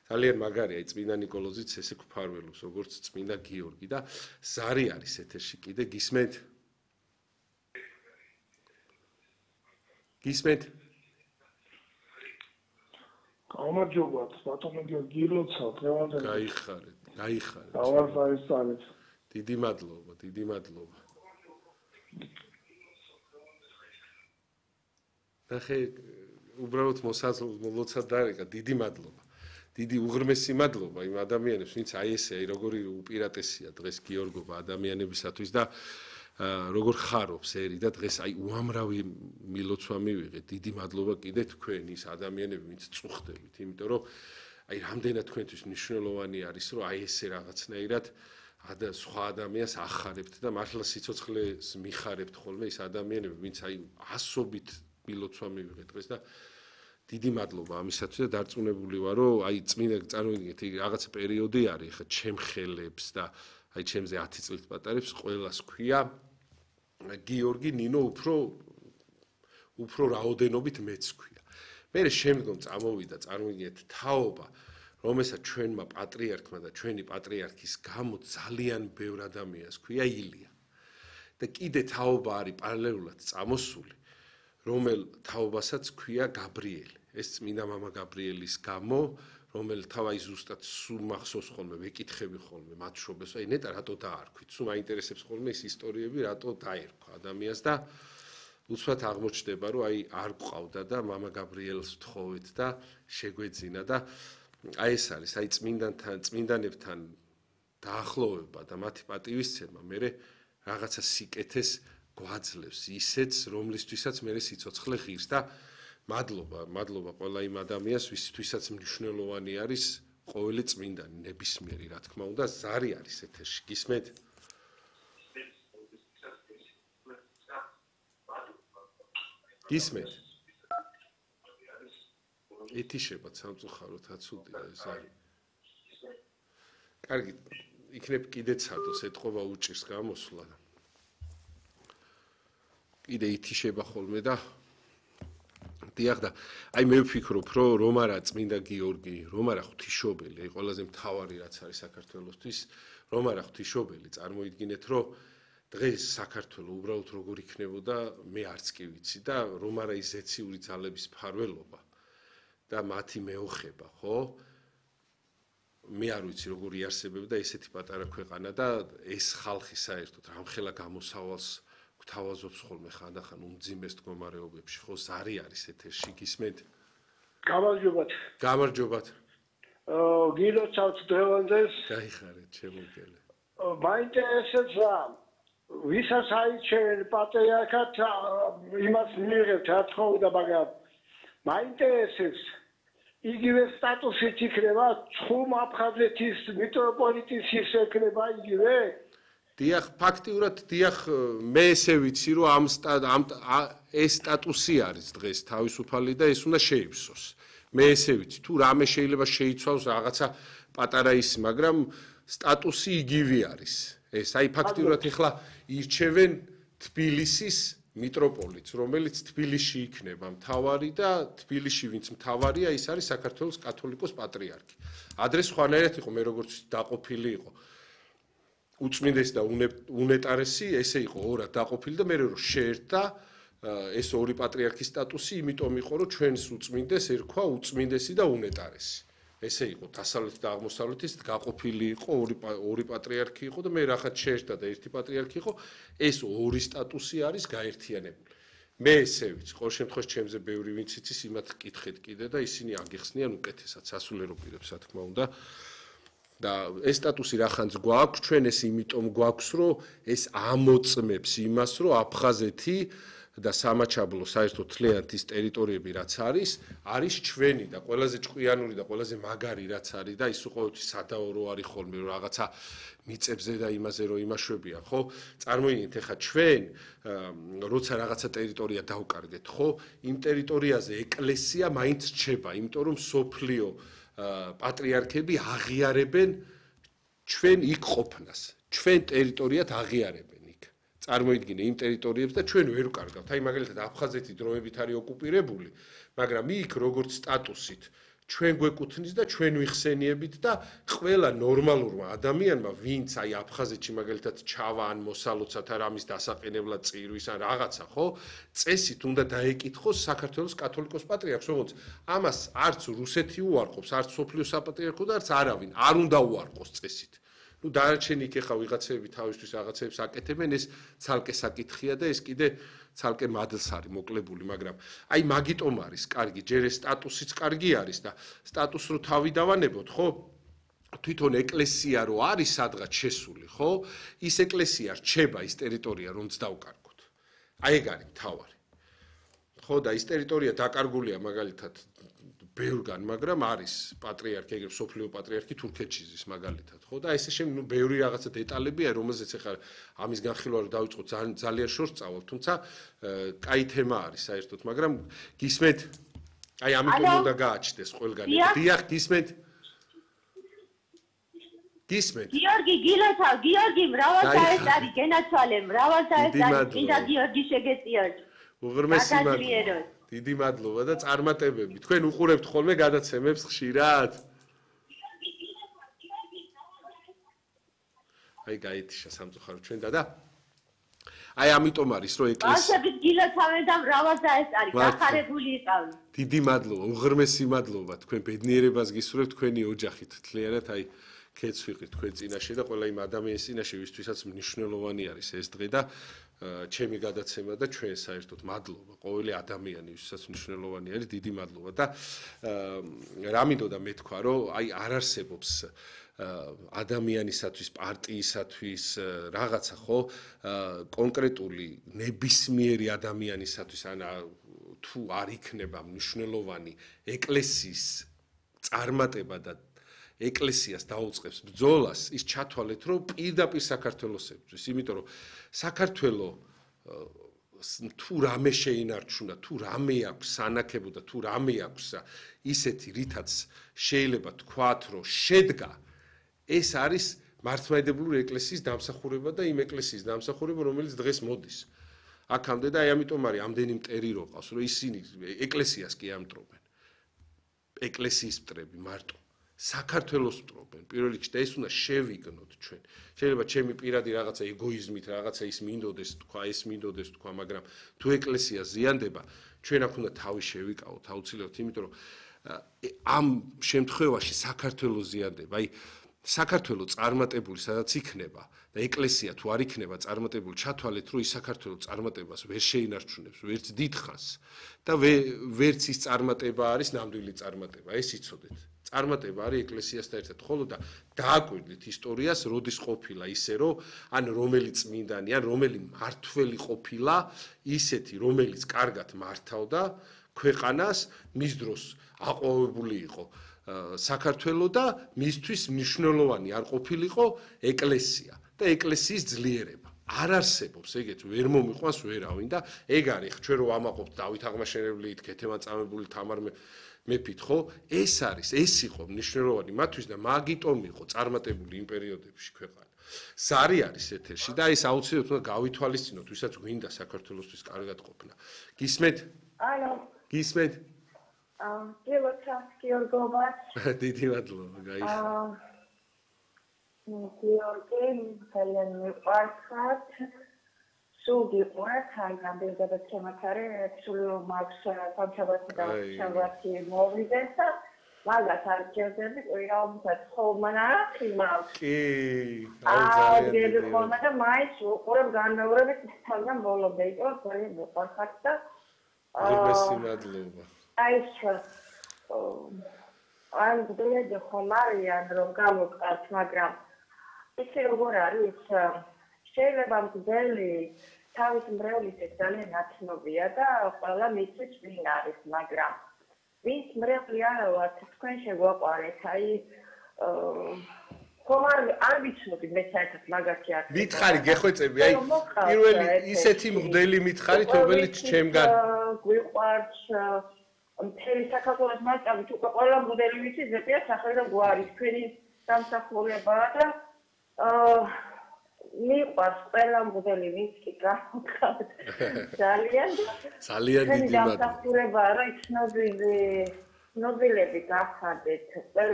ძალიან მაგარია წმინდა ნიკოლოზიც ესე გვფარველობს როგორც წმინდა გიორგი და ზარი არის ეთერში კიდე გისმენთ? გისმენთ? გამარჯობათ, ბატონო გიორგი ლოცავ, დღევანდელ. გაიხარეთ. დავარ დაესწრეთ. დიდი მადლობა. ნახე, უბრალოდ მოლოცად დარეკა, დიდი მადლობა. დიდი უღრმესი მადლობა იმ ადამიანებს, ვინც აი ესე, როგორი უპირატესია დღეს გიორგობა ადამიანებისათვის და როგორ ხარობს ერი და დღეს აი უამრავი მილოცვა მივიღეთ. დიდი მადლობა კიდე თქვენ ის ადამიანები, ვინც წუხდებით, იმიტომ რომ აი რამდენად თქვენთვის მნიშვნელოვანი არის, რომ აი ესე რაღაცნაირად სხვა ადამიანს ახარებთ და მართლა სიცოცხლეს მიხარებთ ხოლმე ის ადამიანები, ვინც აი ასობით მილოცვა მივიღეთ დღეს და დიდი მადლობა ამისათვის და დარწმუნებული ვარ, რომ აი წმინდა წარმოვიდგინეთ, რაღაცა პერიოდი არის, ხა ჩემ ხელებს და აი ჩემზე 10 წლით პატარებს ყველას ქვია გიორგი ნინო უფრო რაოდენობით მეც ქვია. მე შემდგომ წამოვიდა წარმოვიდგინეთ თაობა, რომელსაც ჩვენმა პატრიარქმა და ჩვენი პატრიარქის გამო ძალიან ბევრ ადამიანს ქვია ილია. და კიდე თაობა არის პარალელურად წამოსული, რომელ თაობასაც ქვია გაბრიელი. ეს წმინდა მამა გაბრიელის გამო, რომელ თავი ზუსტად სულ მახსოვს ხოლმე, ვეკითხები ხოლმე მათ შობეს, აი ნეტა რატო დაარქვით, სულ მაინტერესებს ხოლმე ეს ისტორიები, რატო დაერქვა ადამიანს და უცბად აღმოჩნდება, რომ აი არ გვყავდა და მამა გაბრიელს ვთხოვეთ და შეგვეძინა და აი ეს არის, აი წმინდანებთან დაახლოვება და მათი პატივისცემა მე რაღაცა სიკეთეს გვაძლევს ისეც, რომლისთვისაც მე სიცოცხლე ღირს და მადლობა ყველა იმ ადამიანს, ვისთვისაც მნიშვნელოვანი არის ყოველი წმინდანი, ნებისმიერი, რა თქმა უნდა, ზარი არის ეთერში. გისმენთ? გისმენთ? ეთიშებათ სამწუხაროდ აცუდია ზარი. კარგი, იქნებ კიდე ცადოს ეთყობა უჭირს გამოსვლა. კიდე ითიშება ხოლმე და დიახ და აი მე ვფიქრობ, რომ არა წმინდა გიორგი, რომ არა ღვთისმშობელი, აი ყველაზე მთავარი რაც არის საქართველოსთვის, რომ არა ღვთისმშობელი, წარმოიდგინეთ, რომ დღეს საქართველო უბრალოდ როგორ იქნებოდა, მე არც კი ვიცი და რომ არა ის ზეციური ძალების ფარველობა და მათი მეოხება, ხო? მე არ ვიცი როგორ იარსებებდა ესეთი პატარა ქვეყანა და ეს ხალხი საერთოდ რამხელა გამოსავალს გვთავაზობს ხოლმე ხანდახან უმძიმეს მდგომარეობებში, ხო, ზარი არის ეთერში, გისმენთ? გამარჯობათ. გილოცავთ დღევანდელს. გაიხარეთ, შემოგელე. მაინტერესებს რა, ვისაც აიჩევენ პატრიარქად, იმას მიიღებთ, რა თქმა, მაგრამ მაინტერესებს იგივე სტატუსით იქნება, ცხუმ აფხაზეთის მიტროპოლიტის ის ექნება იგივე? დიახ, ფაქტიურად დიახ, მე ესე ვიცი, რომ ეს სტატუსი არის დღეს თავისუფალი და ეს უნდა შეივსოს. მე ესე ვიცი, თუ რამე შეიძლება შეიცვალოს რაღაცა პატარა ისი, მაგრამ სტატუსი იგივე არის. ეს აი ფაქტიურად ეხლა ირჩევენ თბილისის მიტროპოლიტს, რომელიც თბილისში იქნება მთავარი და თბილისში ვინც მთავარია, ის არის საქართველოს კათოლიკოს პატრიარქი. ადრე სხვანაირად იყო, მე როგორც დაყოფილი იყო. უწმინდესი და უნეტარესი ესე იყო ორად დაყოფილი და მე რომ შეერთდა ეს ორი პატრიარქის სტატუსი, იმიტომ იყო რომ ჩვენს უწმინდეს ერქვა უწმინდესი და უნეტარესი. ესე იყო დასავლეთ და აღმოსავლეთის გაყოფილი იყო ორი პატრიარქი იყო და მე რახაც შეერთდა და ერთი პატრიარქი იყო, ეს ორი სტატუსი არის გაერთიანებული. მე ესე ვიცი, ყოველ შემთხვევაში ჩემზე ბევრი ვინც იცის, იმათ კითხეთ კიდე და ისინი აგიხსნიან უკეთესად სასულიერო პირებს, რა თქმა უნდა. და ეს სტატუსი რახანც გვაქვს, ჩვენ ეს იმიტომ გვაქვს, რომ ეს ამოწმებს იმას, რომ აფხაზეთი და სამაჩაბლო საერთოდ თლიანად ის ტერიტორიები რაც არის ჩვენი და ყველაზე ჭკვიანური და ყველაზე მაგარი რაც არის და ის ყოველთვის სადაო არის ხოლმე რომ რაღაცა მიწებზე და იმაზე რომ იმაშვებია, ხო? წარმოიდგინეთ, ეხა ჩვენ როცა რაღაცა ტერიტორია დავკარგეთ, ხო? იმ ტერიტორიაზე ეკლესია მაინც რჩება, იმიტომ რომ სოფლიო პატრიარქები აღიარებენ ჩვენ იქ ყოფნას, ჩვენ ტერიტორიად აღიარებენ იქ. წარმოიდგინე იმ ტერიტორიებს და ჩვენ ვერ ვკარგავთ. აი მაგალითად აფხაზეთი დროებით არის ოკუპირებული, მაგრამ იქ როგორც სტატუსით ჩვენ გვეკუთვნის და ჩვენ ვიხსენიებით და ყველა ნორმალურმა ადამიანმა, ვინც აი აფხაზეთში მაგალითად ჩავა ან მოსალოცათ არ ამის დასაყენებლად წირვის ან რაღაცა, ხო? წესით უნდა დაეკითხოს საქართველოს კათოლიკოს პატრიარქს, როგორც ამას არც რუსეთი უარყოფს, არც სოფლიო საპატრიარქო და არც არავინ არ უნდა უარყოს წესით. ნუ დანარჩენი იქ ახლა ვიღაცები თავისთვის რაღაცებს აკეთებენ, ეს ცალკე საკითხია და ეს კიდე ცალკე მადლს არის მოკლებული, მაგრამ აი მაგიტომ არის კარგი, ჯერ ეს სტატუსიც კარგი არის და სტატუსს რო თავი დავანებოთ, ხო? თვითონ ეკლესია რო არის სადღაც შესული, ხო? ის ეკლესია რჩება ის ტერიტორია, რომც დავკარგოთ. აი ეგ არის მთავარი. ხო და ის ტერიტორია დაკარგულია მაგალითად ბევრგან, მაგრამ არის პატრიარქი, ეგრე სოფლიო პატრიარქი თურქეთში ზის მაგალითად, ხო? და ესე შემდეგ, ნუ ბევრი რაღაცა დეტალებია, რომელზეც ახლა ამის განხილვა რო დავიწყოთ, ძალიან შორს წავალ, თუმცა კაი თემა არის საერთოდ, მაგრამ გისმენთ? აი ამიტომ უნდა გააჩნდეს ყველგან. დიახ, გისმენთ? გისმენთ? გიორგი, მრავალსაერთარი გენაცვალე, მრავალსაერთარი წმინდა გიორგი შეგეწიოთ. უღრმესი მადლობა. დიდი მადლობა და წარმატებები. თქვენ უყურებთ ხოლმე გადაცემებს ხშირად? აი გაითიშა სამწუხარო ჩვენ და აი ამიტომ არის რომ ეკლესია ბავშვებით გილოცავენ და მრავალსაერთარი გახარებული იყავენ. დიდი მადლობა, უღრმესი მადლობა თქვენ ბედნიერებას გისურვებთ თქვენი ოჯახით. თლიანად აი ქეც ვიყრით თქვენ წინაშე და ყველა იმ ადამიანის წინაშე, ვისთვისაც მნიშვნელოვანი არის ეს დღე და ჩემი გადაცემა და ჩვენ საერთოდ მადლობა ყოველი ადამიანი, ვისაც მნიშვნელოვანი არის, დიდი მადლობა და რა მინდოდა მე თქვა, რომ აი არ არსებობს ადამიანისათვის, პარტიისათვის რაღაცა, ხო, კონკრეტული ნებისმიერი ადამიანისათვის ან თუ არ იქნება მნიშვნელოვანი ეკლესიის წარმატება და ეკლესიას დაუწყებს ბრძოლას, ის ჩათვალეთ, რომ პირდაპირ საქართველოს ებრძვის, იმიტომ რომ საქართველო თუ რამე შეინარჩუნა, თუ რამე აქვს სანაკებო და თუ რამე აქვს ისეთი, რითაც შეიძლება თქვათ, რომ შედგა, ეს არის მართლმადიდებლური ეკლესიის დამსახურება და იმ ეკლესიის დამსახურება, რომელიც დღეს მოდის. აქამდე და აი ამიტომ არის ამდენი მტერი რო ყავს, რომ ისინი ეკლესიას კი ამტრობენ. ეკლესიის მტრები მარტო საქართველოს მტრობენ პირველ რიგში და ეს უნდა შევიგნოთ ჩვენ. შეიძლება ჩემი პირადი რაღაცა ეგოიზმით რაღაცა ის მინდოდეს თქვა, ეს მინდოდეს თქვა, მაგრამ თუ ეკლესია ზიანდება, ჩვენ აქ უნდა თავი შევიკავოთ აუცილებლად, იმიტომ რომ ამ შემთხვევაში საქართველოს ზიანდება. აი საქართველოს წარმატებული სადაც იქნება და ეკლესია თუ არ იქნება წარმატებული, ჩათვალეთ, რომ ის საქართველოს წარმატებას ვერ შეინარჩუნებს, ვერც დიდხანს და ვერც ის წარმატება არის ნამდვილი წარმატება, ეს იცოდეთ. წარმატება არის ეკლესიასთან ერთად, ხოლო და დააკვირდით ისტორიას, როდის ყოფილა ისე, რომ ან რომელი წმინდანი, ან რომელი მმართველი ყოფილა ისეთი, რომელიც კარგად მართავდა ქვეყანას, მის დროს აყვავებული იყო საქართველო და მისთვის მნიშვნელოვანი არ ყოფილიყო ეკლესია და ეკლესიის ძლიერება. არ არსებობს ეგეთ, ვერ მომიყვანს ვერავინ და ეგ არის, ჩვენ რო ამაყობთ დავით აღმაშენებლით, ქეთევან წამებული, თამარ მეფით, ხო? ეს არის, ეს იყო მნიშვნელოვანი მათთვის და მაგიტომ იყო წარმატებული იმ პერიოდებში ქვეყანა. ზარი არის ეთერში და ეს აუცილებლად უნდა გავითვალისწინოთ, ვისაც გვინდა საქართველოსთვის კარგად ყოფნა. გისმენთ? ალო. გისმენთ? გიორგობა. დიდი მადლობა, გაიხარა. გიორგი, ძალიან მიყვარხართ. სულ გიყვართ, აი გამდიდრება ჩემათარე, სულ მაქვს სამშაბათი და შაბათი მოვიდეს და მაგას არ ჯერდები, ყოველთვის ხოლმე ხიმავს. კი, ძალიან ხოლმე და მაინც უყურებ განმეორებით თავიდან ბოლომდე, იყო ძალიან მიყვარხართ და უღრმესი მადლობა. აი გდრეჯი ხომარიან რომ გამოვყავთ, მაგრამ ისე როგორ არის, შეიძლება მგდელი თავის მრევლისით ძალიან ნაცნობია და ყველა მისთვის ვინ არის, მაგრამ ვინც მრევლი არა ვართ, თქვენ შეგვაყარეთ, აი ხომარ არ ვიცნობდი მე საერთოდ მაგაში არ მითხარი გეხვეწები, აი პირველი ისეთი მგდელი მითხარით, რომელიც ჩემგან გვიყვარს მთელი საქართველოს მასშტაბით უკვე ყველა მგდელი ვიცი ზეპია სახელი და გვარი თქვენი დამსახურებაა და მიყვარს ყველა მგდელი ვინც კი გავხავთ ძალიან დიდი მადლობა დამსახურებაა რა იცნობილი ცნობილები გავხადეთ ყველა